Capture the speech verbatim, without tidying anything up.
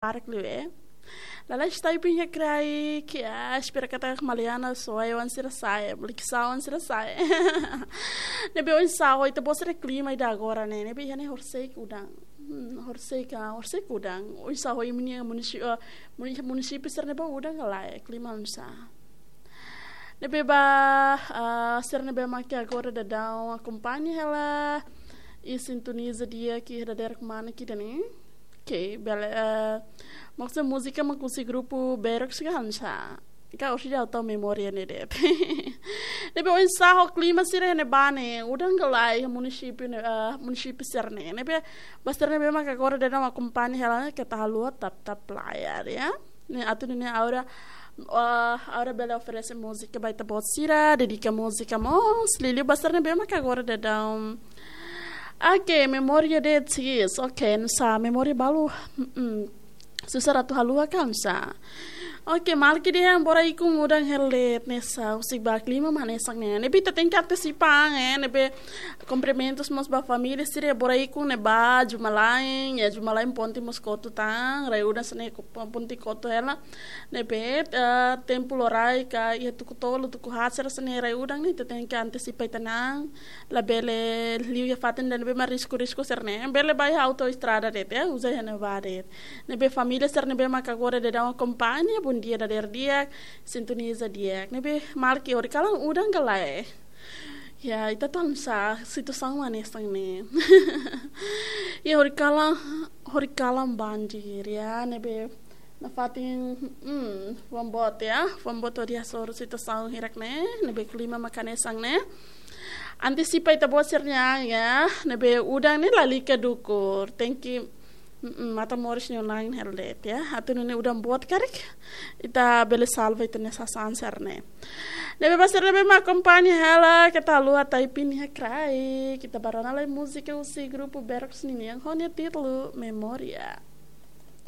barak liu, eh. Lalais typing iha kraik, ah, espera katak Maliana Soe wan sira sai, Liksa wan sira sai. Ne'ebé oinsá ho ita-boot sira klima ida agora ne'e, ne'ebé iha ne'e horisehik udan. Hmm, horisehik, ah, horisehik udan. Oinsá ho imi-nia munisi-, ah, muni-, munisípiu sira ne'ebá udan ka lae, klima oinsá. Ne'ebé ba, ah, sira ne'ebé mak agora daudaun akompaña hela, i sintoniza di'ak iha dadeer kmana ida-ne'e. Oke, bele, eh, maksudnya múzika mak husi grupu Berox ka oinsá. Ka orsida atu memória ne'e de'it. Ne'ebé oinsá ho klima sira ne'ebá ne'e, udan ka lae iha munisípiu ne'e, eh, munisípiu sira ne'e. Ne'ebé ba sira ne'ebé mak agora daudaun akompaña hela ne'e keta haluha tap-tap layar, ya. Ne'e atu nune'e Aura, eh, Aura bele oferese múzika ba ita-boot sira, dedika múzika mós, liuliu ba sira ne'ebé mak agora daudaun. Oke, memória de'it, yes. Oke, nusá memória balu. Mm-mm. Susar atu haluha ka oinsá. Oke, maluk ida, bora ikun udan hela de'it hanesan, husi ba klima mak hanesan ne'e. Ne'ebé ita tenke antesipa, eh, ne'ebé kumprimentus mós ba família sira, bora ikun ne'ebá Jumalain, ya Jumalain ponte mós kotu tan, rai udan sira-ne'e ko-, ponte kotu hela. Ne'ebé, eh, tempu loraik ka iha tuku tolu, tuku haat sira sira-ne'e rai udan ne'e, ita tenke antesipa ita-nia an, labele liu iha fatin ida ne'ebé mak risku-risku sira-ne'e. Bele ba iha autoestrada de'it, ya, uza iha ne'ebá de'it. Ne'ebé família sira ne'ebé mak agora daudaun akompaña, bondia dadeer di'ak, sintoniza di'ak. Ne'ebé maluk, horikalan udan ka lae. Ya, ita atu oinsá, situasaun mak hanesan ne'e. Ya, horikalan, horikalan banjir, ya, ne'ebé nafatin, hmm, fuan boot, ya, fuan boot hodi hasoru situasaun hirak ne'e, ne'ebé klima mak hanesan ne'e. Antesipa ita-boot sira-nia an, ya, ne'ebé udan ne'e lalika dukur, tenke, mm, matan-moris nia oin hela de'it, ya. Atu nune'e udan boot karik, ita bele salva ita-nia sasán sira-ne'e. Ne'ebé ba sira ne'ebé mak akompaña hela, keta haluha typing iha kraik, ita bá rona lai múzika husi grupu Berox ninian ho nia títulu Memória.